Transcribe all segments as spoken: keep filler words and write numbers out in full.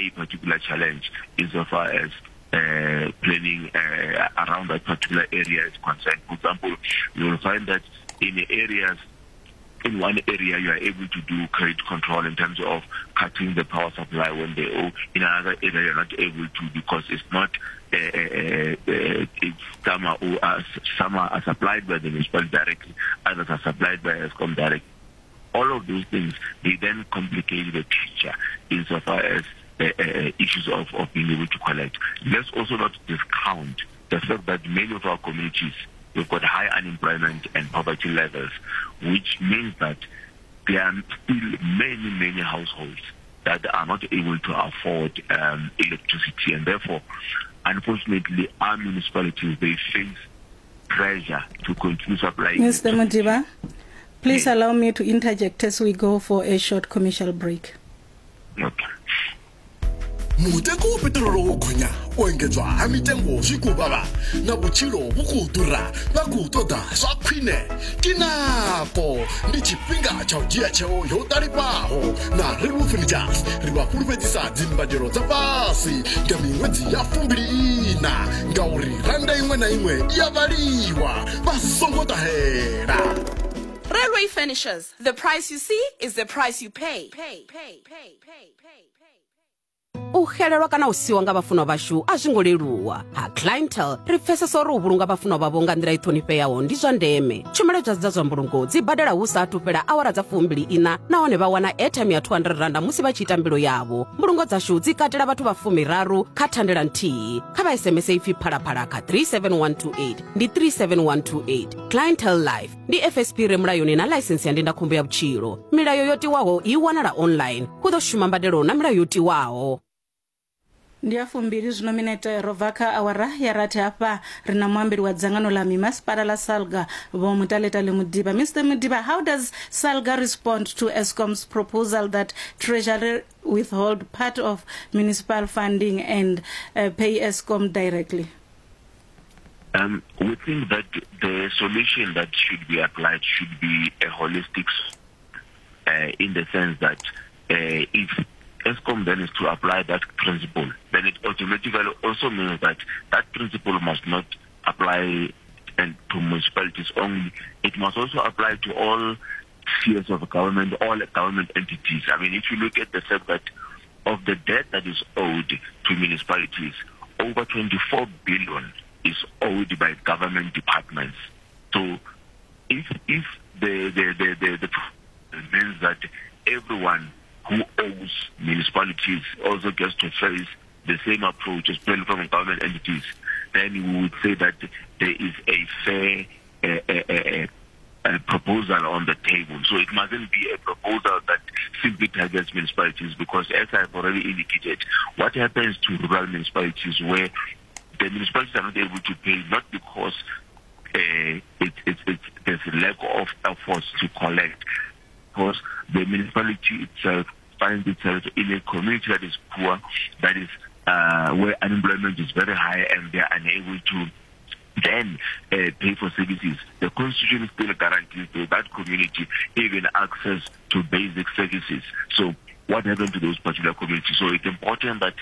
a particular challenge insofar as uh, planning uh, around that particular area is concerned. For example, you will find that in areas, in one area you are able to do credit control in terms of cutting the power supply when they owe. In another area you're not able to because it's not, uh, uh, uh, it's some are, uh, some are supplied by the municipality directly, others are supplied by Eskom directly. All of those things, they then complicate the picture insofar as uh, uh, issues of, of being able to collect. Let's also not discount the fact that many of our communities, we've got high unemployment and poverty levels, which means that there are still many, many households that are not able to afford um, electricity. And therefore, unfortunately, our municipalities, they face pressure to continue supplying. Mister Modiba, please yes. allow me to interject as we go for a short commercial break. Okay. Mutengo wa petrolo wo gonya o engedzwa ha mitengo zwi khou vhavha na vhutshilo vhu khou ḓura vha khou ṱoḓa zwa khwine ke nako ndi tshifhinga tsha u dzhia tsheo yo ṱalifhaho na Railway Furnitures ri vha fhulufhedzisa dzimbadelo dza fhasi nga miṅwedzi ya fumbili ina ngauri randa iṅwe na iṅwe i a vhaliwa vha songo ṱahela. Railway Furnitures, the price you see is the price you pay. Pay, pay, pay, pay, pay. U xelelwa kana u siwa nga vhafunwa vhashu a zwi ngo leluwa. Ha Clientele ri pfesesa uri u vhulunga vhafunwa vhavho nga nḓila i ṱhonifheaho ndi zwa ndeme. Tshumelo dza zwa mbulungo dzi badela hu sa athu fhela awara dza fumbili ina nahone vha wana airtime ya two hundred rand musi vha tshi ita mbilo yavho. Mbulungo dzashu dzi katela vhathu vha fumiraru kha thandela nthihi. Kha vha S M S ipfi phalaphala kha three seven one two eight ndi three seven one two eight. Clientele Life ndi F S P re mulayoni na ḽaisensi ya ndindakhombo ya vhutshilo. Milayo yo tiwaho i wanala online. Hu ḓo shuma mbadelo na milayo yo tiwaho. Ndi ya fumbili zwino minete ro bva kha awara ya rathi hafha ri na muambeli wa dzangano ḽa mimasipala ḽa SALGA Vho Motalatale Modiba. Mister Modiba, how does SALGA respond to Eskom's proposal that Treasury withhold part of municipal funding and uh, pay Eskom directly? Um, we think that the solution that should be applied should be a holistic, uh, in the sense that uh, if Eskom then is to apply that principle, then it automatically also means that that principle must not apply and to municipalities only. It must also apply to all spheres of government, all government entities. I mean, if you look at the fact that of the debt that is owed to municipalities, over twenty-four billion is owed by government departments. So if if the the the, the, the means that everyone who owes municipalities also gets to face the same approach as well from government entities, then we would say that there is a fair uh, uh, uh, uh, proposal on the table. So it mustn't be a proposal that simply targets municipalities, because as I've already indicated, what happens to rural municipalities where the municipalities are not able to pay, not because uh, it, it, it, there's a lack of efforts to collect, because the municipality itself finds itself in a community that is poor, that is uh, where unemployment is very high, and they are unable to then uh, pay for services. The Constitution still guarantees to that community even access to basic services. So what happened to those particular communities? So it's important that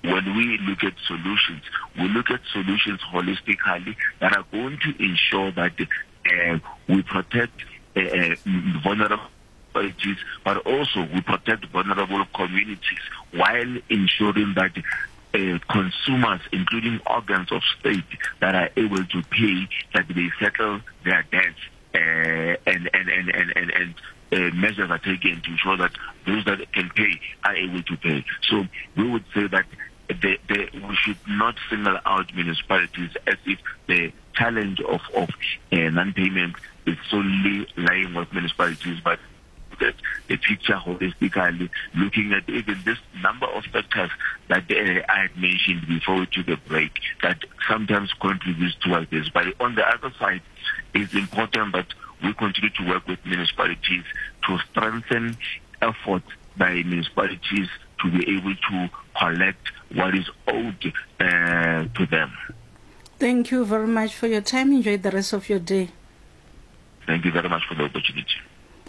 when we look at solutions, we look at solutions holistically that are going to ensure that uh, we protect uh, uh, vulnerable communities, but also we protect vulnerable communities while ensuring that uh, consumers, including organs of state that are able to pay, that they settle their debts uh, and, and, and, and, and, and uh, measures are taken to ensure that those that can pay are able to pay. So we would say that the, the, we should not single out municipalities as if the challenge of, of uh, non-payment is solely lying with municipalities, but that the picture holistically, looking at even this number of factors that uh, I had mentioned before we took a break, that sometimes contributes towards this. But on the other side, it's important that we continue to work with municipalities to strengthen efforts by municipalities to be able to collect what is owed uh, to them. Thank you very much for your time. Enjoy the rest of your day. Thank you very much for the opportunity.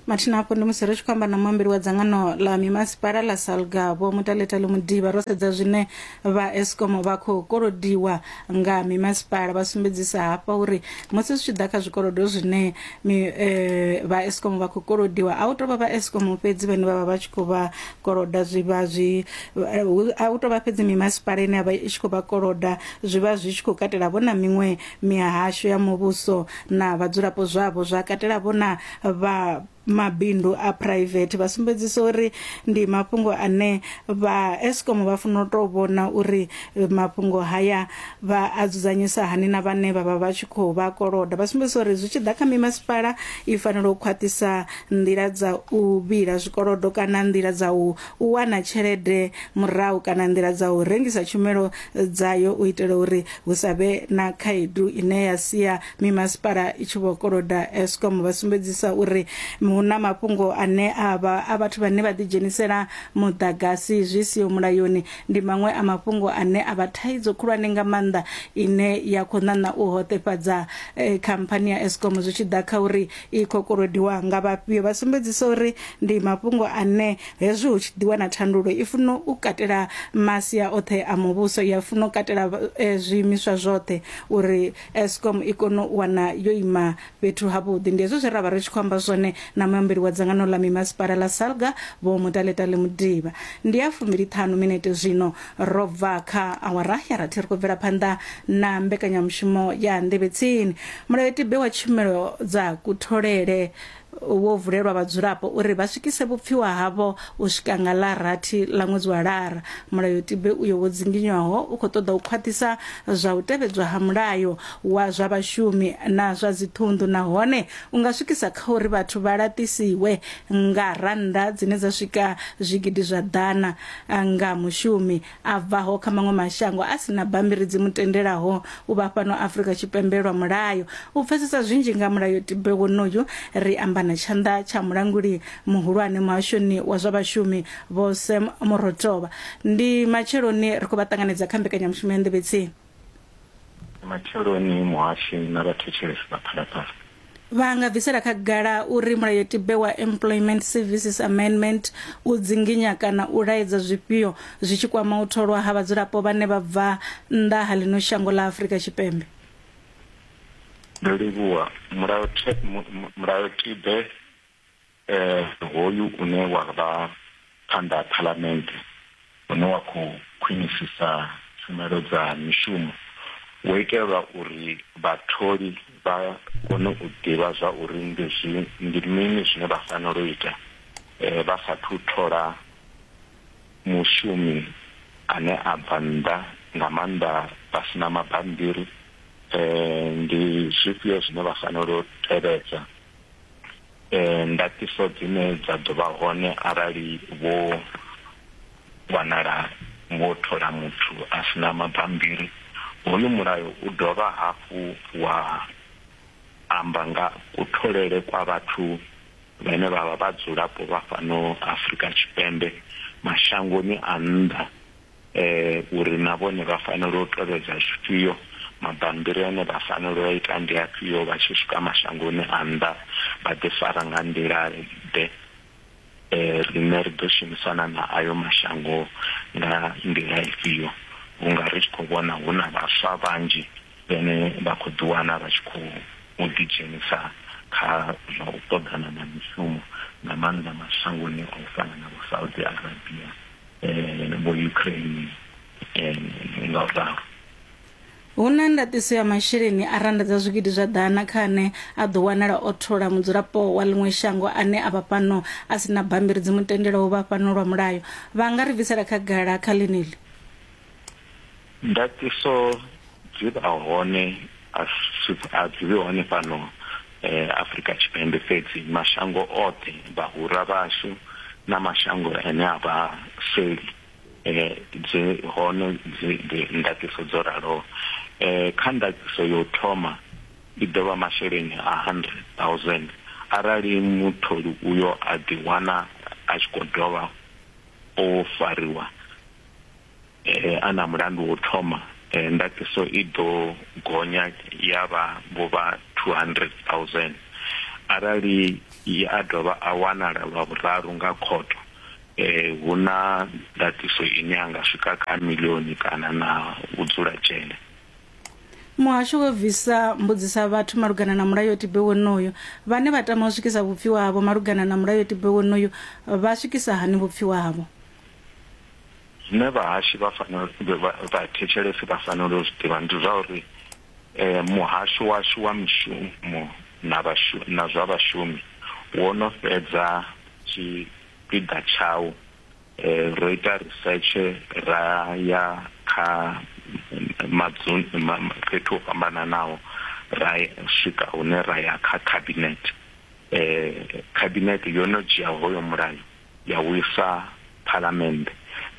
Mathina hafho ndi musi ri tshi khou amba na muambeli wa dzangano ḽa mimasipala ḽa Salga Vho Mutaletale Mudiba, ro sedza zwine vha Eskom vha khou kolodiwa nga mimasipala. Vha sumbedzisa hafha uri musi zwi tshi ḓa kha zwikolodo zwine mi, eh, vha Eskom vha khou kolodiwa, a hu tou vha vha Eskom fhedzi vhane vha vha vha tshi khou vha koloda, zwi vha zwi a hu tou vha fhedzi mimasipala ine ya vha i tshi khou vha koloda, zwi vha zwi tshi khou katela vho na miṅwe mihasho ya muvhuso na vhadzulapo zwavho, zwa katela vho na vha mabindu a private. Vha sumbedzisa uri ndi mafhungo ane vha Eskom vha funa u tou vhona uri mafhungo haya vha a dzudzanyisa hani na vhane vha vha vha tshi khou vha koloda. Vha sumbedzisa uri zwi tshi ḓa kha mimasipala i fanela u khwaṱhisa nḓila dza u vhila zwikolodo kana nḓila dza u wana tshelede murahu kana nḓila dza u rengisa tshumelo dzayo u itela uri hu sa vhe na khaedu ine ya sia mimasipala i tshi vho koloda Eskom. Vha sumbedzisa uri hu na mafhungo ane a vha a vhathu vhane vha ḓi dzhenisela muḓagasi zwi siho mulayoni, ndi maṅwe a mafhungo ane a vha thaidzo khulwane nga maanḓa ine ya khou ṋaṋa u hoṱefhadza eh, khamphani ya Eskom zwi tshi ḓa kha uri i khou kolodiwa nga vhafhio. Vha sumbedzisa uri ndi mafhungo ane hezwi hu tshi ḓi wana thandululo i funa u katela masia oṱhe a muvhuso, ya funa u katela eh, zwiimiswa zwoṱhe uri Eskom i kone u wana yo ima fhethu havhuḓi. Ndi hezwo zwe ra vha ri tshi khou amba zwone na muambeli wa dzangano ḽa mimasipala ḽa Salga Vho Mutaletale Mudiba. Ndi ya fumbili ṱhanu minete zwino ro bva kha awara ya rathi, ri khou bvela phanḓa na mbekanyamushumo ya Nḓevhe Tsini. Mulayotibe wa tshumelo dza kutholele wo vulelwa vhadzulapo uri vha swikise vhupfiwa havho u swika nga ḽa rathi ḽa ṅwedzi wa Lara. Mulayotibe uyo wo dzinginywaho u khou ṱoḓa u khwaṱhisa zwa u tevhedzwa ha mulayo wa zwa vhashumi na zwa dziṱhunḓu, nahone u nga swikisa kha uri vhathu vha laṱisiwe nga rannda dzine dza swika zwigidi zwa ḓana nga mushumi a bvaho kha maṅwe mashango a sina bammbiri dzi mu tendelaho u vha fhano Afrika Tshipembe lwa mulayo. U pfesesa zwinzhi nga mulayotibe wonoyu ri amba na tshanḓa tsha mulanguli muhulwane muhashoni wa zwa vhashumi Vho Sam Morotoba. Ndi matsheloni ri khou vha ṱanganedza kha mbekanyamushumo ya Nḓevhe Tsini. Matsheloni muhashi na vhathetshelesi vha Phalaphala. Vha nga bvisela khagala uri mulayotibe wa Employment Services Amendment u dzinginya kana u laedza zwifhio zwi tshi kwama u tholwa ha vhadzulapo vhane vha bva nnḓa ha ḽino shango ḽa Afrika Tshipembe? Ndo livhuwa. Mulayotibe eh hoyu une wa vha phanḓa ha phalamennde une wa khou khwinisisa tshumelo dza mishumo wo itelwa uri vhatholi vha kone u ḓivha zwa uri ndi zwi ndi mini zwine vha fanela u ita eh vha sathu thola mushumi ane a bva nnḓa, nga maanḓa vha sina mabambiri. Eh ndi zwifhio zwine vha fanela u tevhedza, eh ndaṱiso dzine dza ḓo vha hone arali vho wanala vho thola muthu a sina mabambiri. Hoyu mulayo u dovha hafhu wa amba nga kutholele kwa vhathu vhane vha vha vhadzulapo vha fhano Afrika Tshipembe mashangoni a nnḓa, eh uri na vhone vha fanela u tevhedza zwifhio, mabambiri ane vha fanela u ita ndi afhio vha tshi swika mashangoni a nnḓa, vha ḓi fara nga nḓila ḓe, eh riṋe ri ḓo shumisana na ayo mashango nga nḓila ifhio. Vhunga ri tshi khou vhona hu na vhaswa vhanzhi vhane vha khou ḓiwana vha tshi khou ḓidzhenisa kha zwa u ṱoḓana na mishumo, nga maanḓa mashangoni a u fana na vho Saudi Arabia, eh vho Ukraine, eh nga u ralo. Hu na ndaṱiso ya masheleni a rannda dza zwigidi zwa ḓana kha ane a ḓo wanala o thola mudzulapo wa ḽiṅwe shango ane a vha fhano a sina bammbiri dzi mu tendelaho u vha fhano lwa mulayo. Vha nga ri bvisela khagala kha ḽeneḽi? Ndaṱiso dzi vha hone, a dzi vhe hone fhano eh Afrika Tshipembe fhedzi, mashango oṱhe vhahura vhashu na mashango ane a vha seli eh dzi hone dzi ndaṱiso dzo raloho. Eh kha ndaṱiso yo thoma i ḓo vha masheleni a hundred thousand arali mutholi uyo a ḓiwana a tshi khou dovha o fariwa eh ana mulandu wo thoma, eh ndaṱiso i ḓo gonya ya vha vho vha two hundred thousand. Arali a dovha a wanala lwa vhuraru nga khotho, eh hu na ndatiso ine anga swika kha milioni kana na u dzula dzhele. Muhasho wo bvisa mbudzisa vhathu malugana na mulayotibe wonoyo. Vhane vha tama u swikisa vhupfiwa havho malugana na mulayotibe wonoyo vha swikisa hani vhupfiwa havho? Zwine vhahashi vha fanela vha thetshelesi vha fanela u zwi ḓivha ndi zwa uri eh muhasho washu wa mishumo na vhashu na zwa vhashumi wo no fhedza tshipiḓa tshawo. Eh ro ita research ra ya kha madzuni fhethu ho fhambananaho, ra swika hune ra ya kha cabinet. Eh cabinet yo no dzhia hoyo mulayo ya wisa parliament.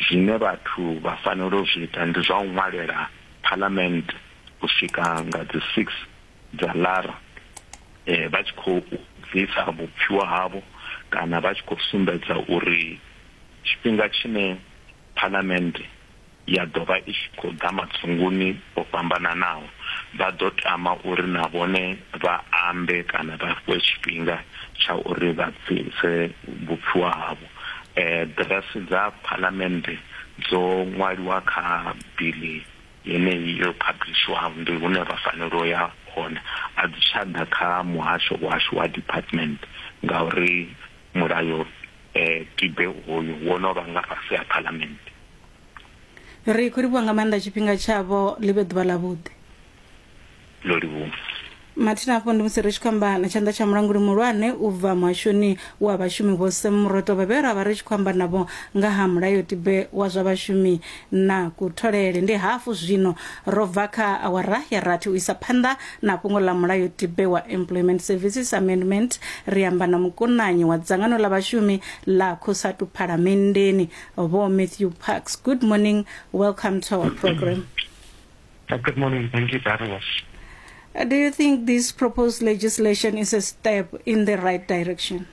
Zwine vhathu vha fanela u zwi ita ndi zwa u ṅwalela parliament u swika nga dzi six dza Lara, eh vha tshi khou bvisa vhupfiwa havho kana vha tshi khou sumbedza uri tshifhinga tshine parliament ya dovha i tshi khou ḓa madzunguni o fhambananaho vha ḓo tama uri na vhone vha ambe kana vha fhiwe tshifhinga tsha uri vha bvise vhupfiwa havho. Eh ḓiresi dza parliament dzo ṅwaliwa kha bili yeneyi yo publishwaho, ndi hune vha fanela u ya hone. A dzi tsha ḓa kha muhasho washu wa department ngauri mulayo eh tibe hoyu wo no vha nga fhasi ha parliament. Ri khou livhuwa nga maanḓa tshifhinga tshavho, ḽi vhe ḓuvha ḽavhuḓi. Ḽo livhuwa. Mathina afho ndi musi ri tshi khou amba na tshanḓa tsha mulanguli muhulwane u bva muhashoni wa vhashumi Vho Sam Mroto, vhe ra vha ri tshi khou amba navho nga ha mulayotibe wa zwa vhashumi na kutholele. Ndi hafu zwino ro bva kha awara ya rathi u isa phanḓa na fhungo ḽa mulayotibe wa Employment Services Amendment. Ri amba na mukonanyi wa dzangano ḽa vhashumi ḽa COSATU Phalamenndeni, Vho Matthew Parks. Good morning, welcome to our program. Uh, good morning, thank you for having us. Do you think this proposed legislation is a step in the right direction?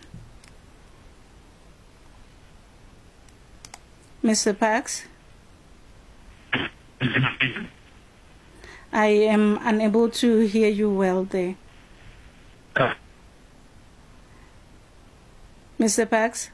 Mister Parks? I am unable to hear you well there. Uh. Mister Parks?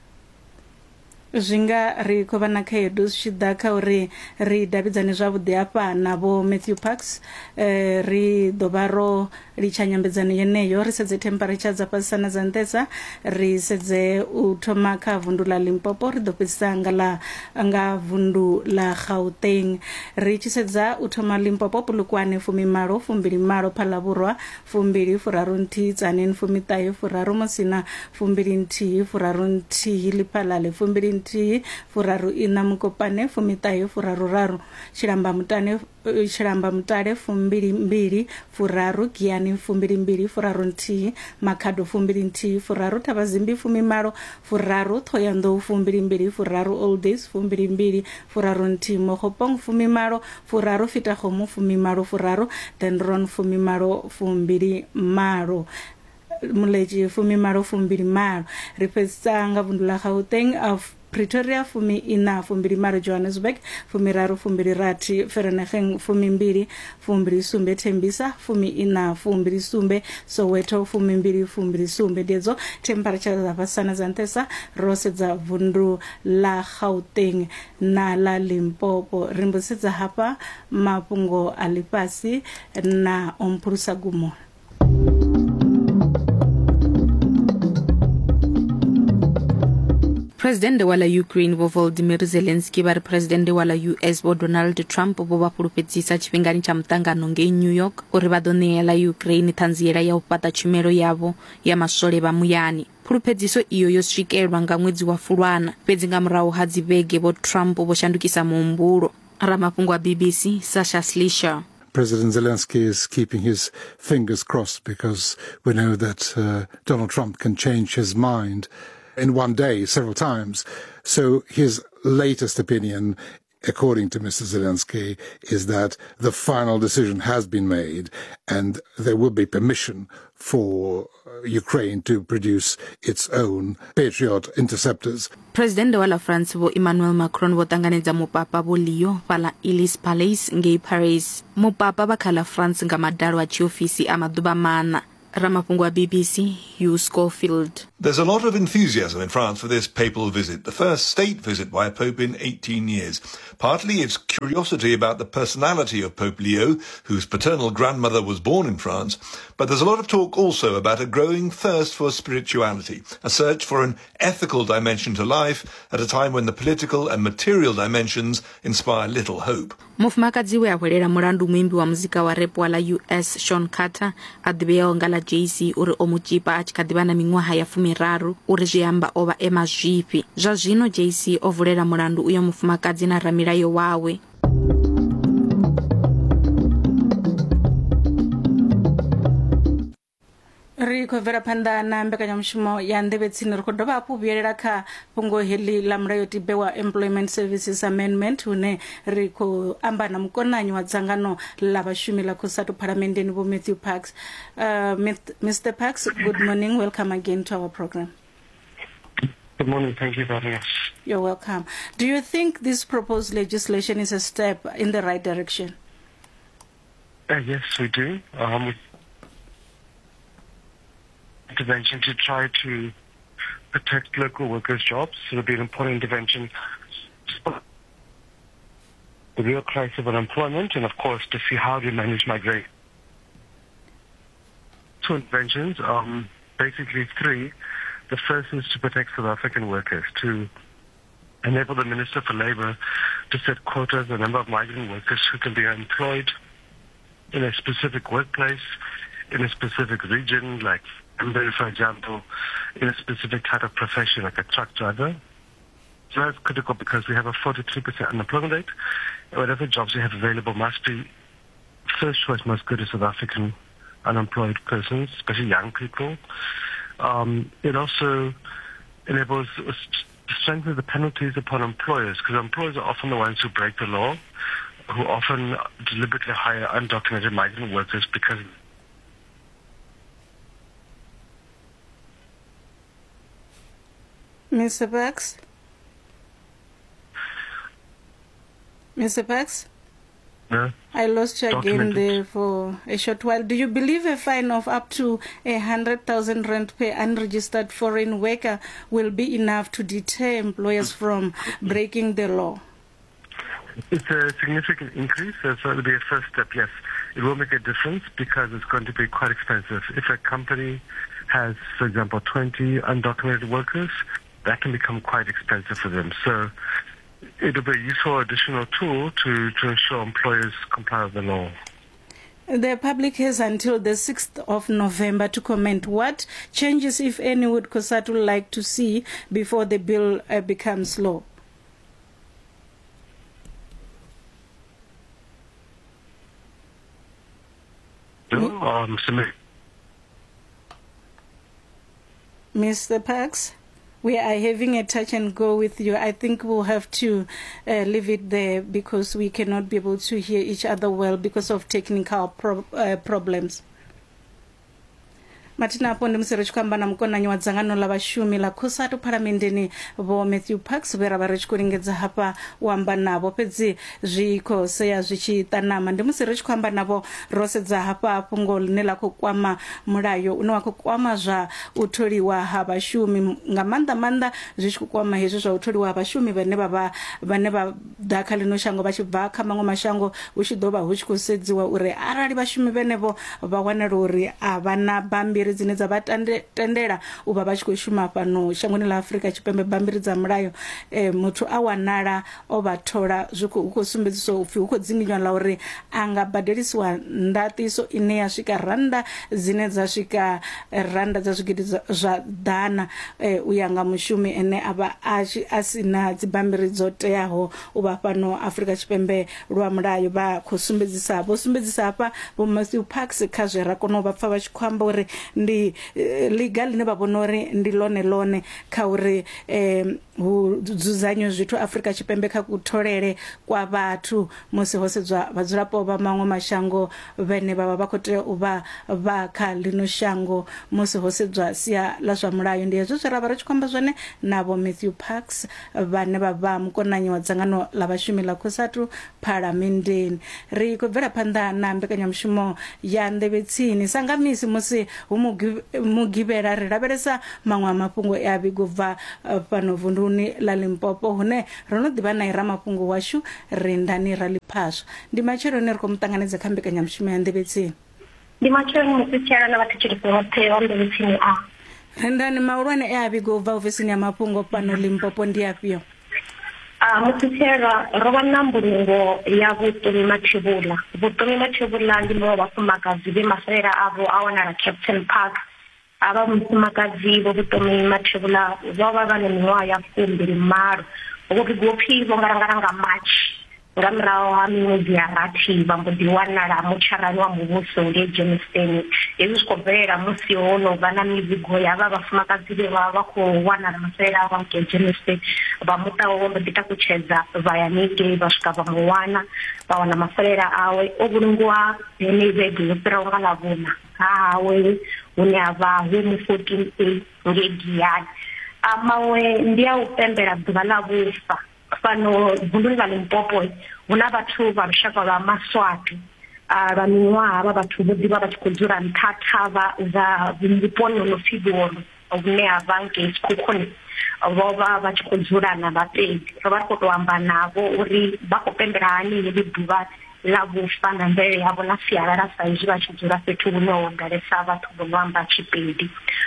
Zwinga ri khou vha na khaedu zwi tshi ḓa kha uri ri davhidzane zwavhuḓi hafha na Vho Matthew Parks. Eh, ri ḓo vha ro litsha nyambedzano yeneyo, ri sedze temperature dza fhasisa na dza nṱhesa, ri sedze u thoma kha vundu ḽa Limpopo, ri ḓo fhedzisa nga ḽa nga vundu ḽa Gauteng. Ri tshi sedza u thoma Limpopo, Polokwane fumimalo fumbili malo, Phalavhurwa fumbili furaru nthihi, Tzaneen fumiṱahe furaru, Musina fumbili nthihi furaru nthihi, Lephalale fumbili nthihi furaru ina, Mukopane fumiṱahe furaru raru, Tshilamba Mutane Tshilamba Mutale fumbili mbili furaru, Giyani fumbili mbili furaru nthihi, Makhado fumbili nthihi furaru, Thabazimbi fumimalo furaru, Thohoyandou fumbili mbili furaru, Oldays fumbili mbili furaru nthihi, Mogopong fumimalo furaru, Fetakgomo fumimalo furaru, Dendron fumimalo fumbili malo, Muleji fumimalo fumbili malo. Ri fhedzisa nga vundu ḽa Gauteng, of Pretoria fumi ina fumbili malo, Johannesburg fumiraru fumbili rathi, Vereeniging fumimbili fumbili sumbe, Tembisa fumi ina fumbili sumbe, Soweto fumimbili fumbili sumbe. Ndi temperature dza fhasisa na dza nṱhesa ro sedza vundu ḽa Gauteng na ḽa Limpopo. Ri mbo sedza hafha mafhungo a ḽifhasi na Omphulusa Gumo. President wa la Ukraine Vho Volodymyr Zelensky vha ri President wa la U S Vho Donald Trump vho vha fhulufhedzisa tshifhingani tsha muṱangano ngei New York uri vha ḓo ṋea ḽa Ukraine ṱhanziela ya u fhaṱa tshumelo yavho ya maswole vha muyani. Phuluphedziso iyo yo swikelwa nga ṅwedzi wa Fulwana, fhedzi nga murahu ha dzivhege Vho Trump vho shandukisa muhumbulo. Ramafhungo wa B B C Sasha Slisher. President Zelensky is keeping his fingers crossed because we know that uh, Donald Trump can change his mind in one day several times. So his latest opinion, according to Mister Zelensky, is that the final decision has been made and there will be permission for Ukraine to produce its own Patriot interceptors. President wa la France Vho Emmanuel Macron vho ṱanganedza mupapa Vho Leo fhaḽa Elysee Palace ngei Paris. Mupapa vha kha ḽa France nga madalo a tshiofisi a maḓuvha maṋa. Ramafhungo wa B B C Hugh Schofield. There's a lot of enthusiasm in France for this papal visit, the first state visit by a pope in eighteen years. Partly it's curiosity about the personality of Pope Leo, whose paternal grandmother was born in France, but there's a lot of talk also about a growing thirst for spirituality, a search for an ethical dimension to life at a time when the political and material dimensions inspire little hope. Mufumakadzi we a hwelela mulandu muimbi wa muzika wa rap wa ḽa U S Sean Carter a ḓivheaho nga ḽa Jay-Z uri o mu tzhipa a tshi kha ḓivha na miṅwaha ya fumiraru uri zwi amba o vha e mazwifhi. Zwa zwino Jay-Z o vulela mulandu uyo mufumakadzi na ramilayo wawe. Ri khou bvela phanḓa na mbekanyamushumo ya nḓevhe tsini. Ri khou dovha hafhu vhuyelela kha fhungo heḽi ḽa mulayotibe wa Employment Services Amendment, hune ri khou amba na mukonanyi wa dzangano ḽa vhashumi ḽa COSATU phalamenndeni Vho Matthew Parks. Uh, Mister Parks, good morning. Welcome again to our program. Good morning. Thank you for having us. You're welcome. Do you think this proposed legislation is a step in the right direction? Uh, yes, we do. Um, intervention to try to protect local workers' jobs. It'll be an important intervention to the real crisis of unemployment and, of course, to see how to manage migration. Two interventions, um, basically three. The first is to protect South African workers, to enable the Minister for Labour to set quotas the number of migrant workers who can be employed in a specific workplace, in a specific region, like, for example, in a specific type of profession, like a truck driver. So that's critical because we have a forty-three percent unemployment rate. Whatever jobs we have available must be, first choice must go to South African unemployed persons, especially young people. Um, it also enables us to strengthen the penalties upon employers, because employers are often the ones who break the law, who often deliberately hire undocumented migrant workers because Mister Parks? Mister Parks? No. I lost you again there for a short while. Do you believe a fine of up to a hundred thousand rand per unregistered foreign worker will be enough to deter employers from breaking the law? It's a significant increase, so it'll be a first step, yes. It will make a difference because it's going to be quite expensive. If a company has, for example, twenty undocumented workers, that can become quite expensive for them. So it'll be a useful additional tool to, to ensure employers comply with the law. The public has until the sixth of November to comment. What changes, if any, would COSATU like to see before the bill uh, becomes law? Um, Mister Parks, we are having a touch and go with you. I think we'll have to uh, leave it there because we cannot be able to hear each other well because of technical pro- uh, problems. Mathina afho ndi musi ri tshi khou amba na mukonanyi wa dzangano ḽa vhashumi ḽa COSATU phalamenndeni Vho Matthew Parks, vhe ra vha ri tshi khou lingedza hafha u amba navho, fhedzi zwi khou sea zwi tshi ṱanama. Ndi musi ri tshi khou amba navho ro sedza hafha fhungo ḽine ḽa khou kwama mulayo une wa khou kwama zwa u tholiwa ha vhashumi, nga maanḓa maanḓa zwi tshi khou kwama hezwi zwa u tholiwa ha vhashumi vhane vha vha vhane vha ḓa kha ḽino shango vha tshi bva kha maṅwe mashango, hu tshi ḓo vha hu tshi khou sedziwa uri arali vhashumi vhenevho vha wanala uri a vha na bammbiri dzine dza vha tendela u vha vha tshi khou shuma fhano shangoni ḽa Afrika Tshipembe, bammbiri dza mulayo, eh, muthu a wanala o vha thola, zwi khou sumbedziswa upfi hu khou dzinginywa ḽa uri a nga badelisiwa ndaṱiso ine ya swika rannda dzine dza swika rannda dza zwigidi zwa ḓana eh, u ya nga mushumi ene a vha a si na dzibammbiri dzo teaho u vha fhano Afrika Tshipembe lwa mulayo. Vha khou sumbedzisa vho sumbedzisa hafha Vho Matthew Parks kha zwe ra kona u vha pfa vha tshi khou amba uri Ndi liga line vha vhona uri ndi lone lone kha uri eh hu dzudzanywe zwithu Afrika Tshipembe kha kutholele kwa vhathu musi ho sedzwa vhadzulapo vha maṅwe mashango vhene vha vha vha khou tea u vha vha kha lino shango musi ho sedzwa sia la zwa mulayo. Ndi hezwo zwe ra vha ri tshi khou amba zwone na vho Matthew Parks vhane vha vha mukonanyi wa dzangano la vhashumi la COSATU phalamendeni. Ri khou bvela phanḓa na mbekanyamushumo ya Nḓevhe Tsini sa nga misi musi hu mugivhela ri lavhelesa maṅwe a mafhungo e a vhigwa bva fhano vunduni la Limpopo hune ro no ḓivha na ramafhungo washu Rendani Raliphaswa. Ndi matsheloni ri khou muṱanganedza kha mbekanyamushumo ya Nḓevhe Tsini. Ndi matsheloni musi na vhathetshelesi vhoṱhe vha Nḓevhe Tsini. A Rendani, mahulwane e a vhigwa ubva ofisini ya mafhungo fhano Limpopo ndi afhio? A musi ro vha na mbulungo ya Vhuṱumi Mathebula. Vhuṱumi Mathebula ndi muṅwe wa vhafumakadzi vhe masalela avho a wanala Captain Park. Avha mufumakadzi vho Vhuṱumi Mathebula vho vha vha na miṅwaha ya fumbili malo. Vho vhigwa upfi vho ngalangala nga March nga murahu ha miṅwedzi ya rathi vha mbo ḓi wanala mutsharani wa muvhuso ngei Germiston. Hezwi zwi khou bvelela musi ho no vha na mivhigo ya vha vhafumakadzi vhe vha vha khou wanala masalela avho ngei Germiston. Vha muṱa wawe vho mbo ḓi takutshedza vha ya haningei vha swika vha mu wana, vha wana masalela awe o vhulungiwa henei vhege yo fhiraho nga Ḽavhuṋa ha hawe hune ha vha hu fourteen A ngei Giyani. A maṅwe ndi a u pembela ḓuvha ḽa vhufa. Fhano vunduni ḽa Limpopo hu na vhathu vha lushaka lwa Maswati. Lwa miṅwaha vha vhathu vho ḓivha vha tshi khou dzula nṱha thavha dza vhuponi ho no pfi Vhuolo vhune ha vha ngei Sekhukhune. Vho vha vha tshi khou dzula na Vhapedi. Ro vha ri khou tou amba navho uri vha khou pembela hani heḽi ḓuvha ḽa vhufa na mvelele yavho na sialala sa izwi vha tshi dzula fhethu hune ho ḓalesa vhathu vho no amba Tshipedi.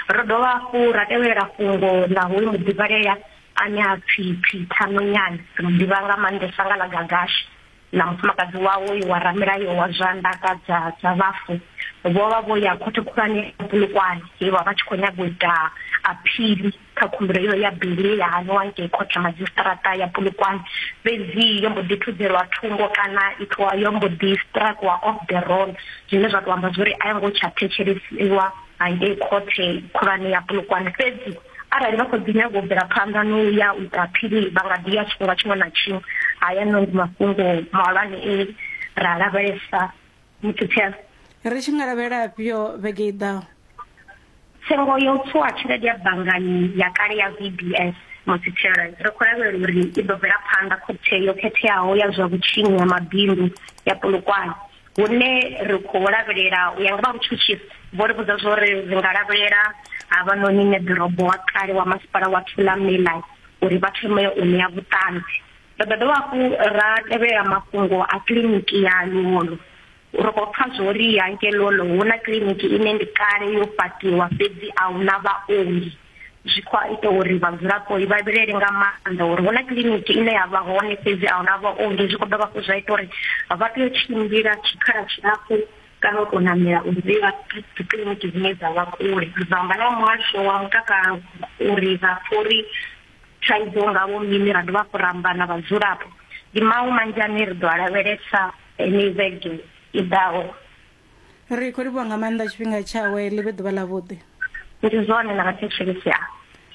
Ro dovha hafhu ra tevhelela fhungo ḽa hoyu muḓivhalea ane a pfi Peter Nonyane, ri mu ḓivha nga maanḓesa nga ḽa Gagashi, na mufumakadzi wawe wa ramilayo wa zwa ndaka dza dza vhafu. Vho vha vho ya khothe khulwane ya Polokwane he vha vha tshi khou nyaga u ita aphili kha khumbelo iyo ya bili ya haniwa ngei khothe madzhisiṱiraṱa ya Polokwane, fhedzi yo mbo ḓi thudzelwa thungo kana itwa yo mbo ḓi strikewa off the roll, zwine zwa tou amba zwori a yo ngo tsha thetshelesiwa hangei khothe khulwane ya Polokwane. Fhedzi arali vha khou ḓi nyaga u bvela phanḓa no ya u ita aphili vha nga ḓi ya tshifhinga tshiṅwe na tshiṅwe. Haya no ndi mafhungo mahulwane e ra lavhelesa muthuthela. Ri tshi nga lavhelela afhio vhege i ḓaho? Tsengo yo tswa tshelede ya banngani ya kale ya V B S muthithela ri khou lavhelela uri i ḓo bvela phanḓa khothe yo khetheaho ya zwa vhutshinyi ha mabindu ya Polokwane, hune ri khou lavhelela u ya nga vha vhutshutshisi vho ri vhudza zwori ri nga lavhelela havhanoni neḓorobo wa kale wa masipala wa Thulamela uri vha thome u ṋea vhuṱanzi. Ri ḓo dovha hafhu ra tevhelela mafhungo a kiḽiniki ya Luolo. Ri khou pfa zwori hangei Luolo hu na kiḽiniki ine ndi kale yo fhaṱiwa fhedzi a hu na vhaongi. Zwi khou ita uri vhadzulapo vha vhilele nga maanḓa uri hu na kiḽiniki ine ya vha hone fhedzi a hu na vhaongi. Zwi khou dovha hafhu zwa ita uri vha tea u tshimbila tshikhala tshilapfhu kana u tou namela uri vha dzi kiḽiniki dzine dza vha kule. Ri ḓo amba na muhasho wa mutakalo uri vha pfhe uri thaidzo ngavho mini, ra dovha hafhu ra amba na vhadzulapo. Ndi maṅwe manzhi ane ri ḓo a lavhelesa henei vhege i ḓaho. Ri khou livhuwa nga maanḓa tshifhinga tshawe, ḽi vhe ḓuvha ḽavhuḓi. Ndi zwone na vhathetshelesi a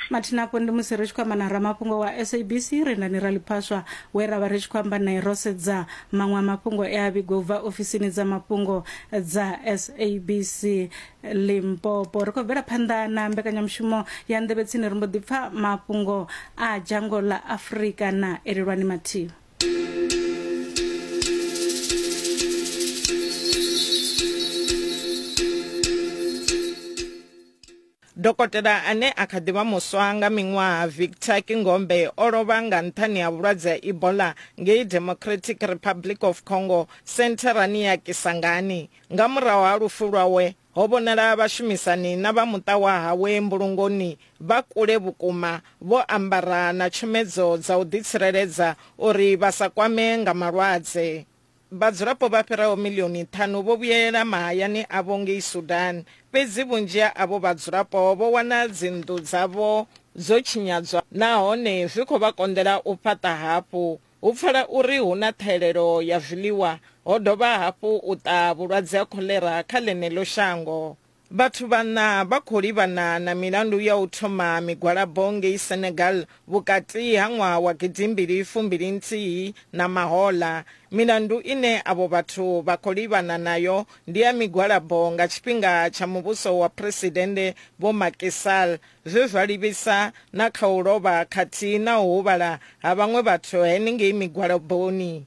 Mathina afho ndi musi ri tshi khou amba na ramafhungo wa S A B C Rendani Raliphaswa we ra vha ri tshi khou amba nae ro sedza maṅwe a mafhungo e a vhigwa ubva ofisini dza mafhungo dza S A B C Limpopo. Ri khou bvela phanḓa na mbekanyamushumo ya Nḓevhe Tsini, ri mbo ḓi pfa mafhungo a dzhango ḽa Afrika na Elelwani Mathivha. Dokotela ane a kha ḓivha muswa nga miṅwaha Victor Kingombe o lovha nga nṱhani ha vhulwadze ha Ebola ngei Democratic Republic of Congo sentharani ya Kisangani. Nga murahu ha lufu lwawe ho vhonala vhashumisani na vha muṱa wa hawe mbulungoni vha kule vhukuma vho ambara na tshomedzo dza u ḓitsireledza uri vha sa kwame nga malwadze. Vhadzulapo vha fhiraho milioni ṱhanu vho vhuyelela mahayani avho ngei Sudan, fhedzi vhunzhi ha avho vhadzulapo vho wana dzinnḓu dzavho dzo tshinyadzwa nahone zwi khou vha konḓela u fhaṱa hafhu. Hu pfala uri hu na ṱhahelelo ya zwiḽiwa, ho dovha hafhu u ṱaha vhulwadze ha kholera kha ḽeneḽo shango. Vhathu vhaṋa vha khou livhana na milandu ya u thoma migwalabo ngei Senegal vhukati ha ṅwaha wa gidimbili fumbili nthihi na mahoḽa. Milandu ine avho vhathu vha khou livhana nayo ndi ya migwalabo nga tshifhinga tsha muvhuso wa Phresidennde Vho Macky Sall, zwe zwa livhisa na kha u lovha khathihi na u huvhala ha vhaṅwe vhathu henengei migwalaboni.